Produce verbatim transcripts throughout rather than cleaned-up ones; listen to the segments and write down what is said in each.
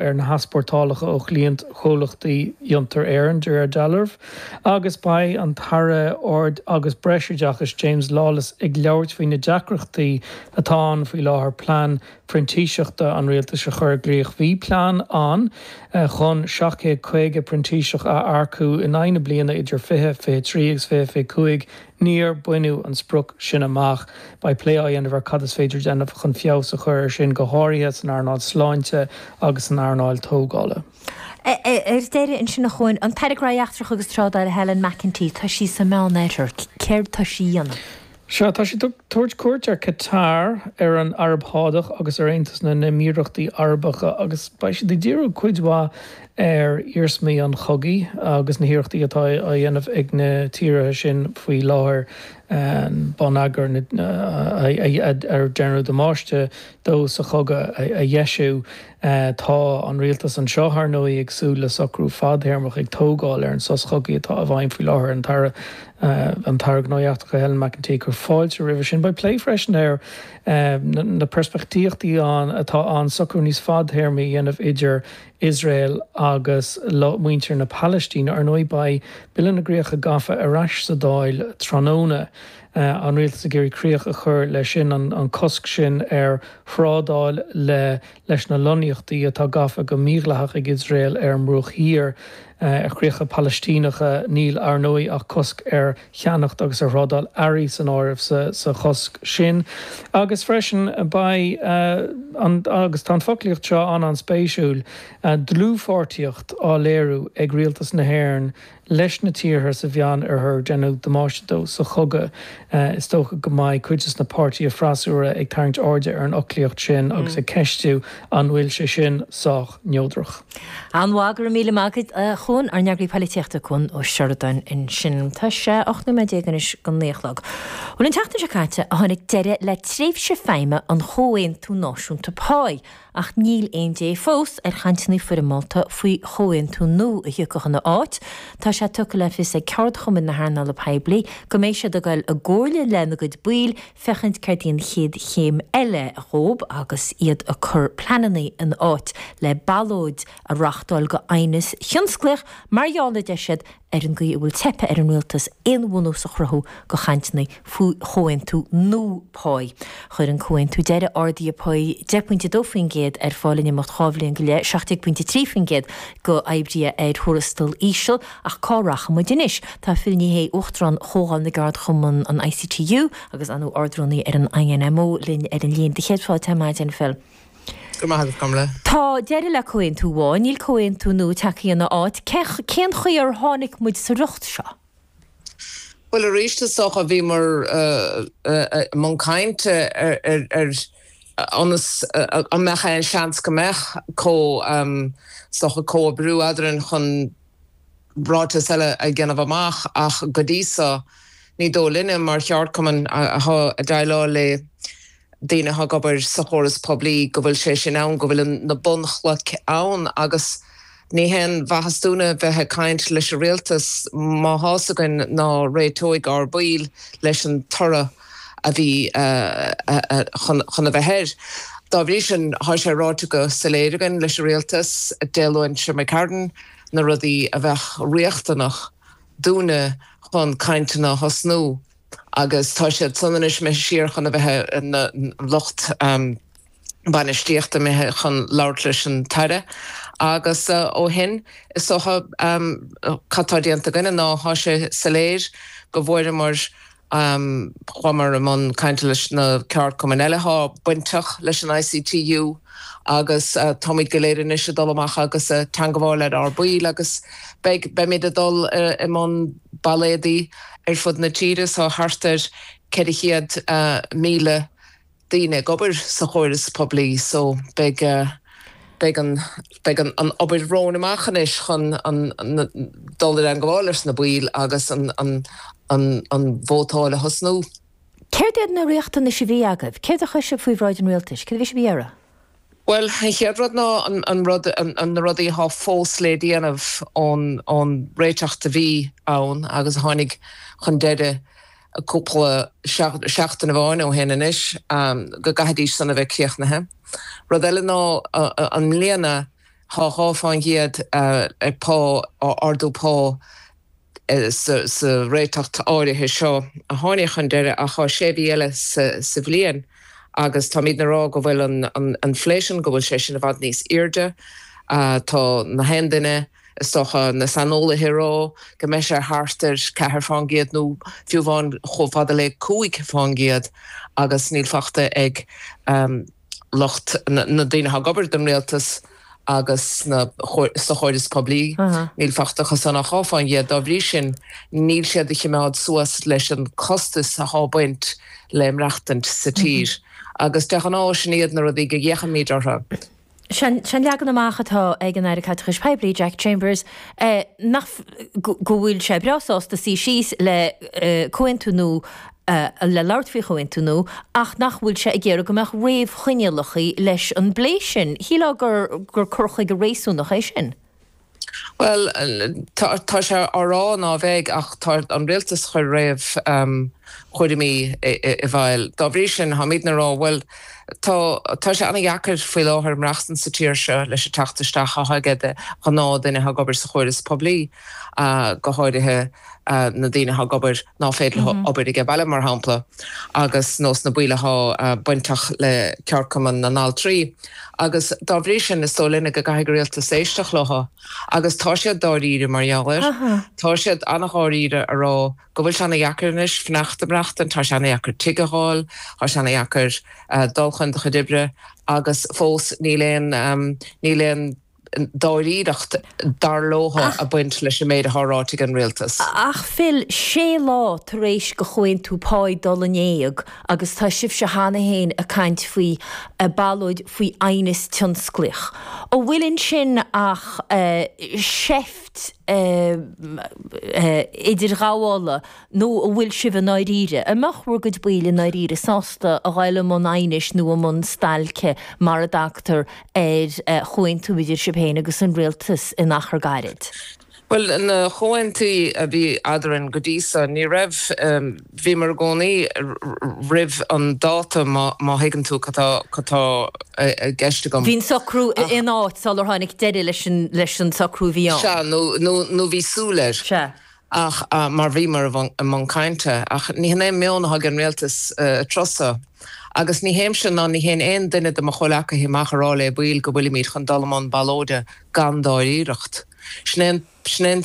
ar na heaspórtálacha ó chliaint chomhlachtaí Fhiontar Éireann de réir dealraimh, agus beidh an tAire Ard agus Breisoideachais James Lawless ag labhairt faoi na deacrachtaí atá ann faoi láthair plean printíseachta an rialtais a chur i gcrích. Bhí plean ann chun seacht gcéad caoga printíseach a earcú in aghaidh na bliana idir fiche fiche trí agus fiche fiche cúig. Níor baineadh an sprioc sin amach. Beidh plé á dhéanamh ar cad is féidir déanamh chun feabhas a chur air sin, go háirithe san earnáil sláinte agus san earnáil tógála. Ar deireadh ansin, a Chuain, an tAire Gnóthaí Eachtracha agus Trádála Helen McEntee, tá sí sa Meánoirthear. Céard tá sí a dhéanamh? Sea, tá sí ag tabhairt cuairt ar Qatar, ar an Araib Shádach agus ar Aontas na nÉimíríochtaí Arabacha agus beidh siad ag díriú cuid mhaith ar iarsmaí an chogaidh agus na hiarrachtaí atá á dhéanamh ag na tíortha sin faoi láthair bonneagar ar deineadh damáiste dó sa chogadh a dheisiú. Tá an rialtas anseo, ar ndóigh, ag súil le socrú fadtéarmach ag tógáil ar an sos chogaidh atá i bhfeidhm faoi láthair. An tAire an tAire Gnóthaí Eachtracha Helen McEntee ag cur fáilte roimhe sin. Beidh plé freisin ar na peirspictíochtaí ann atá ann socrú níos fadtéarmaí a dhéanamh idir Iosrael agus muintir na Palaistíne. Ar ndóigh, beidh Bille na gCríocha Gafa ar ais sa Dáil tráthnóna. An rialtas ag iarraidh críoch a chur leis sin, an cosc sin ar thrádáil le leis na lonnaíochtaí atá gafa go mídhleathach ag Iosrael ar an mBruach Thiar, ar chríocha Palaistíneacha. Níl, ar ndóigh, ach cosc ar cheannacht agus ar thrádáil earraí san áireamh sa chosc sin. Agus freisin beidh an, agus tá an foclaíocht seo an-an-spéisiúil, dlúthpháirtíocht á léiriú ag rialtas na hÉireann leis na tíortha sa Mheánoirthear ar deineadh damáiste dó sa chogadh. Is dócha go mbeidh cuid de na páirtithe freasúra ag tarraingt airde ar an fhoclaíocht sin agus ag ceistiú an bhfuil sé sin sách neodrach. An-mhaith, go raibh míle maith agat, a Chuain, ár n-eagraí polaitíochta Cuan Ó Seireadáin ansin. Tá sé ocht nóiméad déag anois go naoi a chlog. Bhuel, an tseachtain seo caite a tháinig deireadh le tréimhse feidhme an Chomhaontú Náisiúnta Páí. Ach níl aon dé fós ar chainteanna foirmeálta faoi chomhaontú nua a thiocfadh ina áit. Tá sé tugtha le fios ag ceardchumainn na hearnála poiblí go mbeidh siad ag dul i gcomhairle lena gcuid baill féachaint céard í an chéad chéim eile dhóib agus iad ag cur pleananna in áit le ballóid a reáchtáil go aighneas thionsclaíoch mar gheall, a deir siad, ar an gcaoi a bhfuil teipthe ar an rialtas aon bhunús a chruthú go chainteanna faoi chomhaontú nua páí. Chuir an comhaontú deiridh arduithe páí deich bpointe a dó faoin gcéad ar fáil in imeacht dhá bhliain go leith, seacht déag pointe a trí faoin gcéad go oibrithe ar thuarastal íseal. Ach cá rachaidh muid anois? Tá Phil Ní Sheaghdha, Uachtarán Chomhdháil na gCeardchumann, an I C T U, agus an Ard-Rúnaí ar an I N M O linn ar an líne. Do chéad fáilte ar maidin, Phil. Go maith agat, Carmela. Tá deireadh le comhaontú amháin, níl comhaontú nua tagtha ina áit. Cén chaoi ar tháinig muid sa riocht seo? Well, arís, is dócha bhíomar i mbun cainte ar ar ionas an mbeadh aon seans go mbeadh có is dócha comhoibriú eadrainn chun ráiteas eile a dhéanamh amach, ach go dtí so ní dóigh linne mar cheardchumann atá ag déileáil le daoine atá ag obair sa chóras poiblí go bhfuil sé sin ann, go bhfuil na bunchlocha ann. Agus ní haon mhaitheas dúinne bheith ag caint leis an rialtas má tá a fhios againn ná réiteoidh ár baill leis an toradh a bhí chun chun a bheith air. Dá bhrí sin, tá sé ráite go soiléir againn leis an rialtas Dé Luain seo imigh na rudaí a bheadh riachtanach dúinne chun cainteanna a thosnú, agus tá siad san anois imithe siar chun a bheith na lucht um, bainistíochta imithe chun labhairt leis an tAire. Agus uh, ó shin, is dócha um, cad tá déanta againne ná tá sé soiléir go bhfuaireamar um, chuamar i mbun cainte leis na ceardchumainn eile atá bainteach leis an I C T U agus uh, táimid go léir anois ag dul amach agus uh, teagmháil le ár baill agus beidh beimid ag dul uh, i mbun ballóidí ar fud na tíre. Tá thart ar ceithre chéad uh, míle daoine ag obair sa chóras poiblí, so beidh uh, beidh an beidh an, an obair romhainn amach anois chun an, an, dul i dteagmháil leis na baill agus an, an, an, an vótáil a thosnú. Céard iad na riachtanais a bhí agaibh? Céard a chuir sibh faoi bhráid an rialtais? Céard a bhí sibh ag iarraidh? Well, an chéad rud ná an, an rud an, an na rudaí atá fós le déanamh ón ón réiteach a bhí ann agus a tháinig chun deireadh cúpla seachtain amháin ó shin anois, um, go gcaithfidís san a bheith críochnaithe. Rud eile ná uh, an mbliana Tá dhá fán gcéad ag pá, ardú pá sa sa réiteacht áirithe seo a tháinig chun deireadh ach tá sé mhí eile sa sa bhliain agus táimidne ag rá go bhfuil an an inflation, go bhfuil sé sin i bhfad níos airde. Tá na haon duine, is dócha, na saineolaithe ag rá go mbeidh sé thart ar ceathair fán gcéad nó fiú amháin chomh fada le cúig fán gcéad agus níl fachta ag lucht na daoine atá ag obair don rialtas agus sna sa chóras poiblí. Níl fachta acu san ach dhá fán gcéad. Dá bhrí sin níl siad ag cimeád suas leis an costas atá ag baint le maireachtaint sa tír. Agus de ghnáth sin iad na rudaí go bhféachaimid orthu. Sé'n leagan amach atá ag an Aire Caiteachais Poiblí, Jack Chambers, nach go bhfuil sé breá sásta suí síos le comhaontú nua, le labhairt faoi chomhaontú nua, ach nach bhfuil sé ag iarraidh go mbeadh réamhchoinníollacha leis an bplé sin. Shílfeá gur gur cur chuige réasúnach é sin. Bhuel, tá sé á rá ná bheidh ach tá an rialtas ag cur réamhchúraimí i bhfeighil. Dá bhrí sin, táimidne ag rá, bhuel, tá tá sé an-dheacair faoi láthair maireachtaint sa tír seo leis an teacht isteach atá ag de ghnáth-duine atá ag obair sa chóras poiblí, go háirithe na daoine atá ag obair ná féidir leo obair ag baile, mar shampla, agus nó sna baill atá bainteach le ceardchumann na n-altraí. Agus dá bhrí sin, is dóigh linne go gcaithfidh an rialtas éisteacht leo. Agus tá siad dáiríre mar gheall air. Tá siad an-dháiríre a rá go bhfuil sé ana-dheacair anois fanacht ag maireachtaint, tá sé ana-dheacair tigh a fháil, tá sé ana-dheacair dul chun do chuid oibre agus fós níl aon, níl aon dáiríreacht dar leo ag baint leis an méid atá ráite ag an rialtas. Ach Phil, sé lá tar éis do chomhaontú páí dul in éag agus tá sibhse cheana féin ag caint faoi ballóid faoi aighneas tionsclaíoch. An bhfuil ansin ach seift idirghabhála nó an bhfuil sibh i ndáiríre? An mbeadh bhur gcuid baill i ndáiríre sásta a ghoil i mbun aighnis nó i mbun stailce mara dtagtar ar chomhaontú idir sibh féin agus an rialtas in achar gairid? Bhuel, na comhaontuithe a bhí eadrainn go dtí so, ní raibh, bhíomar i gcónaí roimh an dáta má thuigeann tú cad tá i gceist agam. Bhí an socrú in áit sular tháinig deireadh leis an socrú a bhí ann. Sea, nó bhí súil air. Sea. Ach mar bhíomar i mbun cainte. Ach ní hin é an meon atá ag an rialtas an tráth so. Agus ní théimse ná ní théann aon duine de mo chomhleacaithe amach a rá le baill go bhfuilimid chun dul i mbun ballóide gan dáiríreacht. Sin é sin é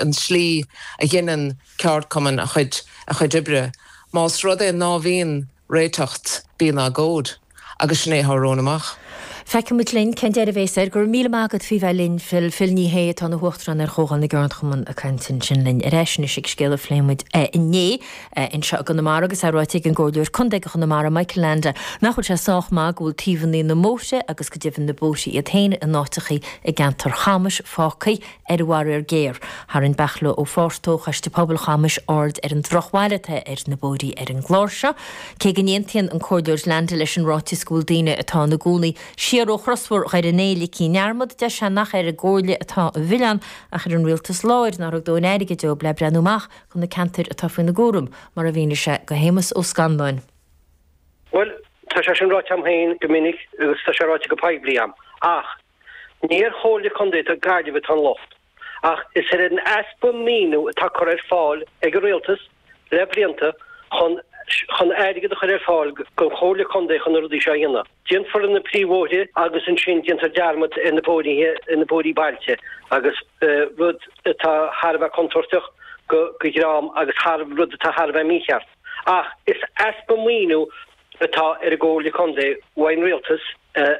an tslí a dheineann ceardchumann a chuid a chuid oibre. Más rud é ná bhíonn réiteacht, bíonn agóid. Agus sin é atá romhainn amach. Feicfimid linn cén deireadh a bhéas air. Go raibh míle maith agat faoi bheith linn, Phil. Phil Ní Sheaghdha atá ina huachtarán ar Chomhdháil na gCeardchumann ag caint ansin linn ar ais anois ag scéal a phléigh muid inné anseo i gConamara agus é ráite ag an gComhairleoir Contae do Chonamara, Michael Leainde, nach bhfuil sé sách maith go bhfuil taobhanna na mbóithre agus go deimhin na bóithre iad féin in áiteachaí i gceantar Chamais fágtha ar an bhfaraor géar. Tharraing Beartla Ó Fátharta ó Choiste Pobail Chamais aird ar an drochbhail atá ar na bóithrí ar an gclár seo. Cé go n-aontaíonn an Comhairleoir Leainde leis an ráiteas go bhfuil daoine atá ina gcónaí siar ó chrosbhóthar Dhoire an Fhéich ligthe i ndearmad, deir sé nach ar an gComhairle atá an milleán ach ar an rialtas láir nár thug dóthain airgid dóibh le breathnú amach do na ceantair atá faoina gcúram, mar a mhínigh sé do Shéamus Ó Scanláin. Bhuel, tá sé sin ráite agam féin go minic agus tá sé ráite go poiblí agam, ach ní ar Chomhairle Contae na Gaillimhe atá an locht, ach is ar an easpa maoiniú atá curtha ar fáil ag an rialtas le blianta chun chun airgead a chur ar fáil don Chomhairle Contae chun na rudaí seo a dhéanamh. Déanfar na príomhbhóithre agus ansin déantar dearmad ar na bóithre ar na bóithrí bailte agus rud atá thar a bheith contúirteach go go dhream agus thar rud atá thar a bheith mícheart. Ach is easpa maoiniú atá ar an gComhairle Contae uaidh an rialtas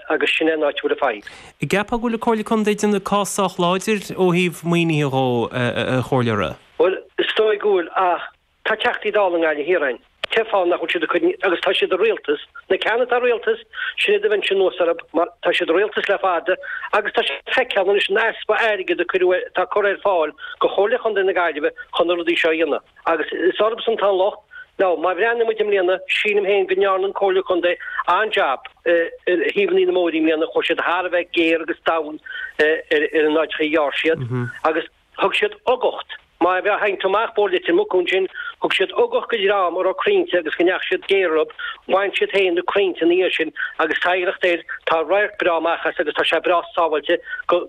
agus sin é an áit a bhfuil an fadhb. An gceapfá go bhfuil an Comhairle Contae ag déanamh cás sách láidir ó thaobh maoinithe dhó, a Chomhairleora? Bhuel, is dóigh go bhfuil ach tá Teachtaí Dála i nGaillimh Thiar againn. Cén fáth nach bhfuil siad ag cur, agus tá siad i rialtas, na ceanna atá i rialtas, sin iad a bheinnse anuas orthu mar tá siad i rialtas le fada agus tá sé feicthe anois an easpa airgid a cuireadh, atá curtha ar fáil do Chomhairle Chontae na Gaillimhe chun na rudaí seo a dhéanamh. Agus is orthusan atá an locht. Now, má bhreathnaíonn muid i mbliana, sílim féin go ndearna an Comhairle Contae an-jab ar thaobhanna na mbóithrí i mbliana, chuaigh siad thar a bheith géar agus domhain ar an áiteacha a ghearr siad agus thug siad ugacht Má bheith hain amach bór Leitir Mucún sin, thug siad ugach go dream a raibh crainnte agus go ndeachaigh siad géar orthu, bhain siad féin na crainnte ina dhiaidh sin agus tá oidhreacht air, tá radharc breá amach as agus tá sé breá sábháilte go